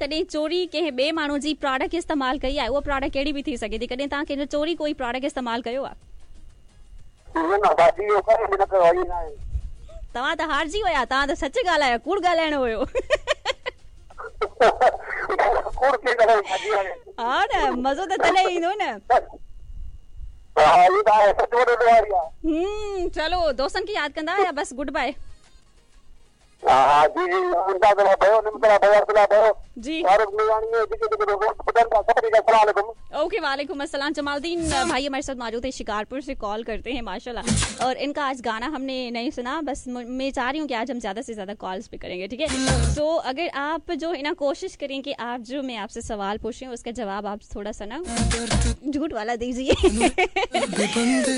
ڪڏهن چوري ڪنهن ٻئي ماڻهو جي پراڊڪٽ استعمال ڪئي آهي؟ اها پراڊڪٽ ڪهڙي به ٿي سگهي ٿي. ڪڏهن توهان ڪنهن جو چوري ڪوئي پراڊڪٽ استعمال ڪيو آهي؟ نه نه باجي اهو ڪڏهن به نه ڪيو آهي ائين ناهي. توهان ته هارجي ويا توهان ته سچ ڳالهايو ڪوڙ ڳالهائڻو هيو. ڪوڙ ڪيئن ڳالهايون باجي هاڻي. ها نه مزو ته تڏهن ايندو نه. ها اهو ته آهي سچ وڏو ڏوهاري آهي. هم چلو دوستن کي ياد ڪندا يا بس گڊ باء. ها ها جي جي امداد الله ڀيو نعمت الله ڀيو عبدالله ڀيو جي فاروق ميراڻي ۽ جيڪي جيڪي دوست ٻڌن ٿا سڀني کي السلام عليڪم. اوڪي وعليڪم السلام جمال الدين भाई हमारे साथ मौजूद है शिकारपुर से कॉल करते हैं माशाल्लाह और इनका आज गाना हमने नहीं सुना बस मैं चाह रही हूँ कि आज हम ज़्यादा से ज़्यादा कॉल्स भी करेंगे ठीक है सो अगर आप जो है ना कोशिश करें कि आप जो मैं आपसे सवाल पूछ रही हूँ उसका जवाब आप थोड़ा सा ना झूठ वाला दीजिए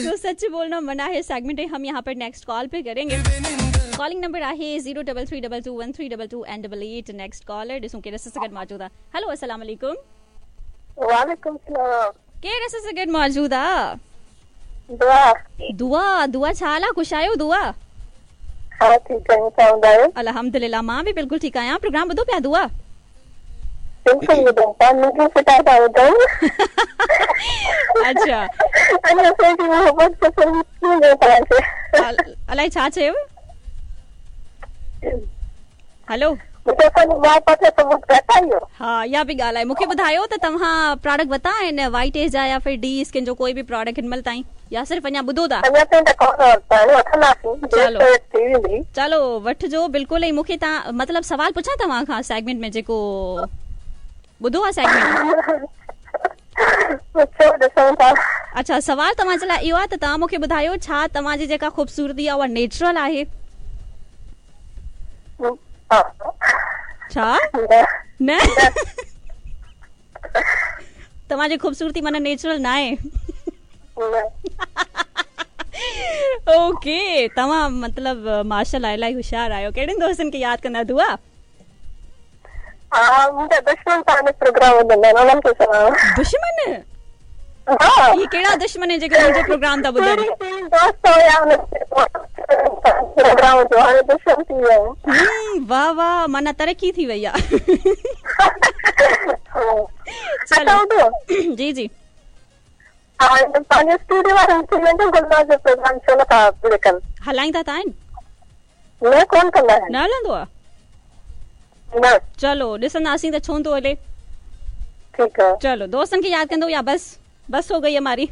तो सच बोलना मना है सेगमेंट है हम यहाँ पर नेक्स्ट कॉल पे करेंगे कॉलिंग नंबर आहे zero double three double two one three double two and double eight next caller ॾिसूं केरु असां सां गॾु मौजूदु आहे हेलो अस्सलाम वालेकुम वालेकुम सलाम केरु असां सां गॾु मौजूदु आहे दुआ दुआ दुआ छा हाल आहे ख़ुशि आहियो दुआ हा ठीकु आहियूं तव्हां ॿुधायो अल्हम्दुलिल्लाह मां बि बिल्कुलु ठीकु आहियां प्रोग्राम ॿुधो पिया दुआ बिल्कुलु ॿुधूं था मुंहिंजी फिटा था ॿुधूं अच्छा अञा असांजी मोहबत पसंदि थींदो तव्हांखे अलाए छा चयो हेलो मूंखे असांजी मोहबत जो सबूत घटि आहे इहो हा इहा बि ॻाल्हि आहे मूंखे ॿुधायो त तव्हां प्रोडक्ट वरिता आहिनि वाइट एज जा या फिर डी स्किन जो कोई बि प्रोडक्ट हिन महिल ताईं या सिर्फ़ अञा ॿुधो था अञा ताईं त कोन वरिता आहिनि वठंदासीं चलो थी वेंदी चलो वठिजो बिल्कुलु ऐं मूंखे तव्हां मतिलबु सवाल पुछां तव्हां खां सेगमेंट में जेको ॿुधो आहे सेगमेंट पुछो ॾिसूं था अच्छा सवाल तव्हांजे लाइ इहो आहे त तव्हां मूंखे ॿुधायो छा तव्हांजी जेका ख़ूबसूरती आहे उहा नेचुरल आहे छा न तव्हांजी ख़ूबसूरती माना नेचुरल न आहे ओके तव्हां मतिलबु माशाल्लाह इलाही होशियार आहियो कहिड़नि दोस्तनि खे यादि कंदा दुआ हा मुंहिंजा दुश्मन तव्हांजो प्रोग्राम ॿुधंदा आहिनि उन्हनि खे चवां दुश्मन हा इहे कहिड़ा दुश्मन आहिनि जेके मुंहिंजो प्रोग्राम था ॿुधनि दोस्त हुया प्रोग्राम जो हाणे दुश्मन थी विया आहिनि वाह वाह माना तरक़ी थी वई आहे चलो जी जी हा पंहिंजे स्टूडियो वारनि खे वेंदो गुलनाज़ जो प्रोग्राम छो नथा प्ले कनि हलाईंदा त आहिनि न कोन कंदा आहिनि न हलंदो आहे न चलो ॾिसंदासीं त छो थो हले ठीकु आहे चलो दोस्तनि खे यादि कंदो या बस बस हो गई हमारी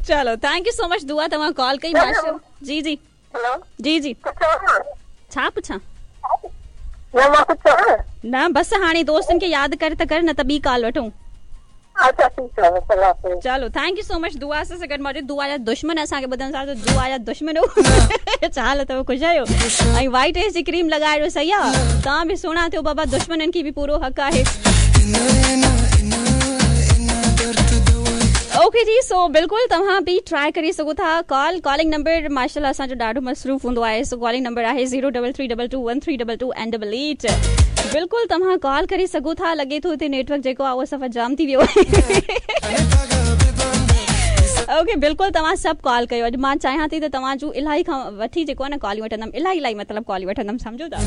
चलो thank you so much दुआ तव्हां कॉल कई माशा जी जी हेलो जी जी कुझु छा पुछां न मां कुझु चवां न बसि हाणे दोस्तनि खे यादि कर त कर न त ॿी कॉल वठूं अच्छा ठीकु आहे अल्लाह हाफ़िज़ चलो thank you so much दुआ असां सां गॾु मौजूदु दुआ जा दुश्मन असांखे ॿुधनि था त दुआ जा दुश्मन छा हाल अथव ख़ुशि आहियो ऐं वाइट एज जी क्रीम लॻाए सही आहे तव्हां बि सुहिणा थियो बाबा दुश्मननि खे बि पूरो हक़ आहे ओके जी सो बिल्कुलु तव्हां बि ट्राई करे सघो था कॉल कॉलिंग नंबर माशाल्लाह असांजो ॾाढो मसरूफ़ हूंदो आहे सो कॉलिंग नंबर आहे zero double three double two one three double two and double eight बिल्कुलु तव्हां कॉल करे सघो था लॻे थो हिते नेटवर्क जेको आहे उहो सफ़ा जाम थी वियो आहे ओके बिल्कुलु तव्हां सभु कॉल कयो अॼु मां चाहियां थी त तव्हां जूं इलाही खां वठी जेको आहे न कॉलियूं वठंदमि इलाही इलाही मतिलबु कॉलियूं वठंदमि सम्झो था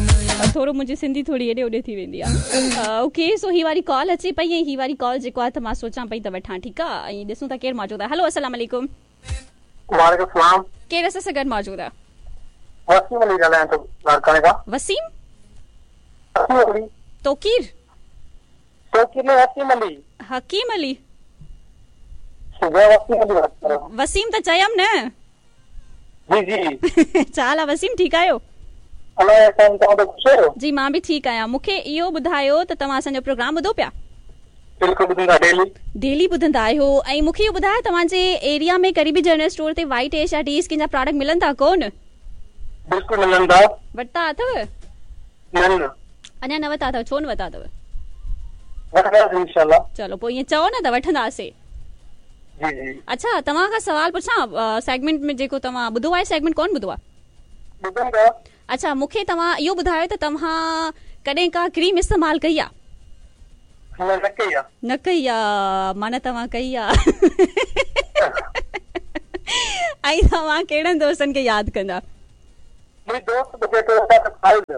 थोरो मुंहिंजी सिंधी थोरी हेॾे होॾे थी वेंदी आहे ओके सो ही वारी कॉल अचे पई ऐं ही वारी कॉल जेको आहे त मां सोचां पई त वठां ठीकु आहे ऐं ॾिसूं था केरु मौजूदु आहे हेलो अस्सलाम वालेकुम वालेकुम सलाम केरु असां सां गॾु मौजूदु आहे वसीम अली ॻाल्हायां थो लाड़काणे खां वसीम वसीम अली तोकीर तोकीर न वसीम अली हकीम अली वसीम अली वसीम त चयमि न जी जी छा हाल आहे वसीम ठीकु आहियो अलाह साईं तव्हां त ख़ुशि आहियो जी मां बि ठीकु आहियां मूंखे इहो ॿुधायो त तव्हां असांजो प्रोग्राम ॿुधो पिया बिल्कुलु ॿुधंदा डेली डेली ॿुधंदा आहियो ऐं मूंखे इहो ॿुधायो तव्हांजे एरिया में करीबी जनरल स्टोर ते वाइट एश या डी स्किन जा प्रोडक्ट मिलनि था कोन बिल्कुलु मिलनि था वरिता अथव न न अञा न वरिता अथव छो न वरिता अथव वठंदासीं इंशाल्लाह चलो पोइ ईअं चओ न त वठंदासीं जी जी अच्छा तव्हां खां सवाल पुछां सेगमेंट में जेको तव्हां ॿुधो आहे सेगमेंट कोन ॿुधो आहे ॿुधनि था अच्छा मूंखे तव्हां इहो ॿुधायो त तव्हां कॾहिं का क्रीम इस्तेमालु कई आहे न न कई आहे न कई आहे माना तव्हां कई आहे ऐं तव्हां कहिड़नि दोस्तनि खे यादि कंदा मुंहिंजो दोस्त ॿुधे थो चाचो ख़ालिद।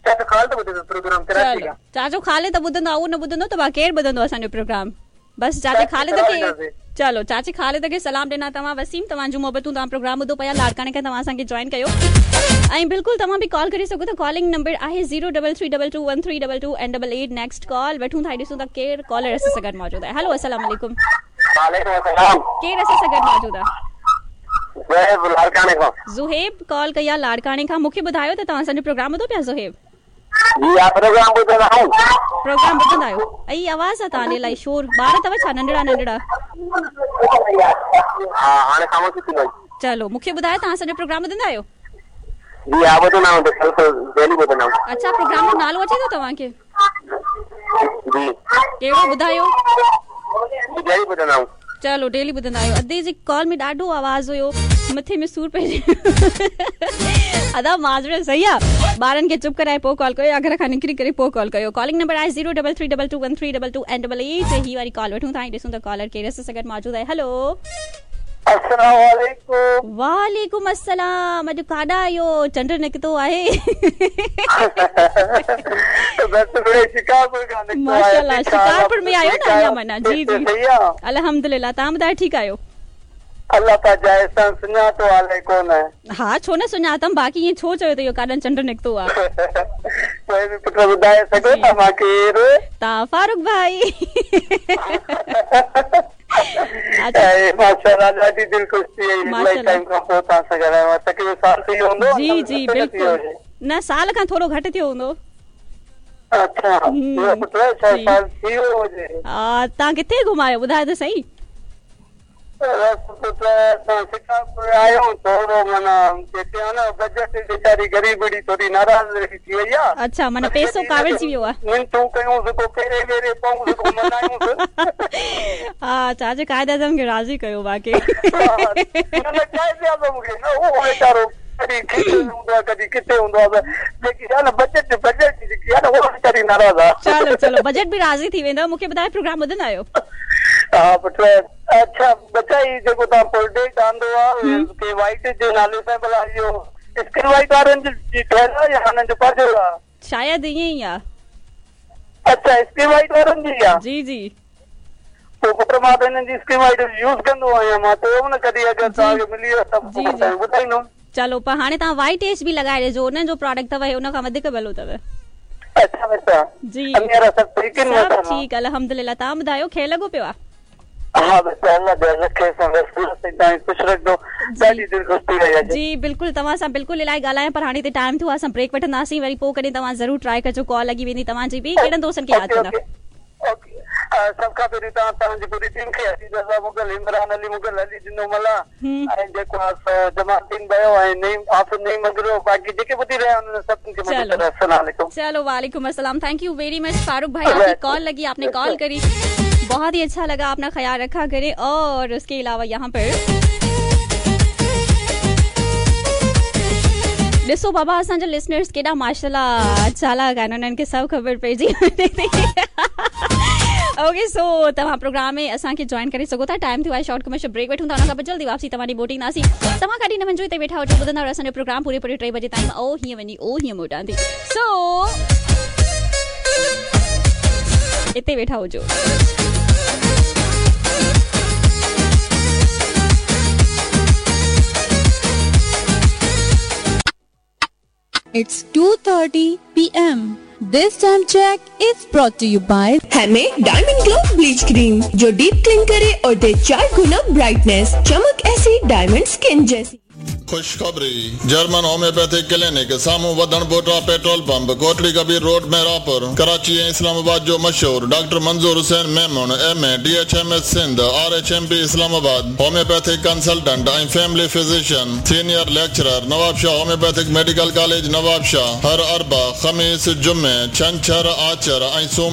चाचो ख़ालिद ॿुधे थो प्रोग्राम कराची खां। चाचो ख़ालिद ॿुधंदो आहे, उहो न ॿुधंदो त बाक़ी केरु ॿुधंदो असांजो प्रोग्राम? बसि चाचे ख़ालिद खे, चलो चाचे ख़ालिद खे सलाम ॾिना तव्हां। वसीम, तव्हांजूं मोहबतूं, तव्हां प्रोग्राम ॿुधो पिया, लाड़काणे खां तव्हां असांखे जॉइन कयो ऐं बिल्कुलु तव्हां बि कॉल करे सघो था। कॉलिंग नंबर आहे 0333221322 and 88। Next call वठूं था, ॾिसूं था केरु कॉलर असां सां गॾु मौजूदु आहे। हेलो, अस्सलाम वालेकुम। वालेकुम अस्सलाम। केरु असां सां गॾु मौजूदु आहे? ज़ुहैब लाड़काणे खां। ज़ुहैब कॉल कई आहे लाड़काणे खां। मूंखे ॿुधायो त तव्हां असांजो प्रोग्राम ॿुधो पिया ज़ुहैब? जी हा, प्रोग्राम ॿुधंदा आहियूं। प्रोग्राम ॿुधंदा आहियो? ऐं आवाज़ आहे तव्हांजे इलाही शोर, ॿार अथव छा नंढड़ा नंढड़ा? हा, हाणे ख़ामोशी थी वई। चलो मूंखे ॿुधायो तव्हां असांजो प्रोग्राम ॿुधंदा आहियो? जी हा, ॿुधंदा आहियूं, बिल्कुलु डेली ॿुधंदा आहियूं। अच्छा, प्रोग्राम जो नालो अचे थो तव्हांखे? जी। कहिड़ो ॿुधायो? डेली ॿुधंदा आहियूं। चलो डेली ॿुधंदा आहियो। अदे जी कॉल में ॾाढो आवाज़ हुयो, मथे में सूर पइजी अदा माज़रत। सही आहे, ॿारनि खे चुप कराए पोइ कॉल कयो या घर खां निकिरी करे पोइ कॉल कयो। कॉलिंग नंबर आहे 0333221322 एंड 88। ही वारी कॉल वठूं था ऐं ॾिसूं त कॉलर केरु असां सां गॾु मौजूदु आहे। हेलो, अस्सलाम वालेकुम। वालेकुम अस्सलाम। अॼु काॾा आहियो? चंड निकितो आहे। माशाल्लाह, शिकारपुर में आहियो न अञा माना? जी जी, अल्हम्दुलिल्लाह। तव्हां ॿुधायो, ठीकु आहियो? अलाह पाक जा एहसान, सुञातो हाले कोन। हा, छो न सुञातम, बाक़ी ईअं छो चयो त इहो काॾनि चंड निकितो आहे? कोई बि पुट ॿुधाए सघो था मां केरु? तव्हां फारूक भाई। माशाल्लाह, ॾाढी दिलि ख़ुशि थी वई, इलाही टाइम खां पोइ तव्हां सां ॻाल्हायो आहे। तक़रीबन साल थी वियो हूंदो? जी जी बिल्कुलु, न साल खां थोरो घटि थियो हूंदो। अच्छा, पुट साल थी वियो हुजे। तव्हां किथे घुमायो ॿुधायो त सही? बजट वीचारी ग़रीबड़ी थोरी नाराज़ थी वई आहे। अच्छा, माना पैसो काविड़जी वियो आहे। मिंटू कयूंसि, को फेरे वेरे पऊंसि, को मनायूंसि। हा, चाचे क़ाइद आज़म खे राज़ी कयो बाक़ी। न न, क़ाइद आज़म खे न, उहो वीचारो कॾहिं किथे हूंदो आहे, कॾहिं किथे हूंदो आहे, जेकी आहे न बजट, बजट जेकी आहे न उहा वीचारी नाराज़ आहे। चलो चलो, बजट बि राज़ी थी वेंदव। मूंखे ॿुधायो, प्रोग्राम ॿुधंदा आहियो? हा पुट। अच्छा बचा, ही जेको तव्हां प्रोडक्ट आंदो आहे के वाइट जे नाले सां, भला इहो स्किन वाइट वारनि जी ठहियल आहे या हुननि जो पंहिंजो आहे? शायदि ईअं ई आहे। अच्छा, स्किन वाइट वारनि जी आहे? जी जी। पोइ पुट मां त हिननि जी स्किन वाइट यूज़ कंदो आहियां, मां चयो न कॾहिं अगरि तव्हांखे मिली वियो त ॿुधाईंदुमि। चलो, पर हाणे तव्हां वाइट एज बि लॻाए ॾिजो, हुननि जो प्रोडक्ट अथव, हुन खां वधीक भलो अथव। अच्छा अच्छा जी, सभु ठीकु आहिनि? सभु ठीकु अल्हम्दुलिल्लाह। तव्हां ॿुधायो, खेल लॻो पियो आहे? हा बसि अलाह रखे, ख़ुशि रखंदो, ॾाढी दिलि ख़ुशि थी वई अॼु। जी बिल्कुलु, तव्हां सां बिल्कुलु इलाही ॻाल्हायां, पर हाणे हिते टाइम थियो आहे, असां ब्रेक वठंदासीं, वरी पोइ कॾहिं तव्हां ज़रूरु ट्राई कजो, कॉल लॻी वेंदी तव्हांजी बि। कहिड़नि दोस्तनि खे यादि कंदा? सभ खां पहिरीं तव्हां तव्हांजी पूरी टीम खे, अज़ीज़ रज़ा मुग़ल, इमरान अली मुग़ल, अली जिनो मला ऐं जेको आहे सो जमालदीन भयो ऐं नईम आफ़िद नईम मगरो, बाक़ी जेके ॿुधी रहिया आहिनि उन्हनि सभिनी खे मुंहिंजी अस्सलाम वालेकुम। चलो वालेकुम अस्सलाम। Thank you very much Farooq भाई, आपकी कॉल लगी, आपने कॉल करी, बहुत ही अच्छा लगा। अपना ख्याल रखा करें। और उसके अलावा यहाँ पर ॾिसो बाबा, असांजा लिसनर्स केॾा माशाल्लाह चालाक आहिनि, उन्हनि खे सभु ख़बर पइजी वञे थी। ओके, सो तव्हां प्रोग्राम में असांखे जॉइन करे सघो था। टाइम थियो आहे, शॉर्ट कमर्शियल ब्रेक वठूं था, उन खां पोइ जल्दी वापसी तव्हां ॾे मोटींदासीं। तव्हां काॾे न वञिजो, हिते वेठा हुजो, ॿुधंदा रहो असांजो प्रोग्राम पूरे पूरे 3 बजे ताईं। ओ हीअं वञी, ओ हीअं मोटां थी। सो हिते वेठा हुजो। It's 2:30 p.m. This time check is brought to you by हमें डायमंड ग्लो ब्लीच क्रीम, जो डीप क्लीन करे और दे 4 गुना ब्राइटनेस, चमक ऐसी डायमंड स्किन जैसी। खुशखबरी, जर्मन होम्योपैथिक क्लिनिक साम्हूं Wadhan Pota petrol pump, Kotri Kabir road Mehrapur, Karachi ऐं इस्लामाबाद जो मशहूर doctor Manzoor Hussain Memon, MA DHMS Sindh, RHMP Islamabad, homeopathic consultant ऐं family physician, senior lecturer, Nawabshah homeopathic medical college Nawabshah. हर अरबा, ख़मीस, जुमे, छंछर, आचर ऐं सोम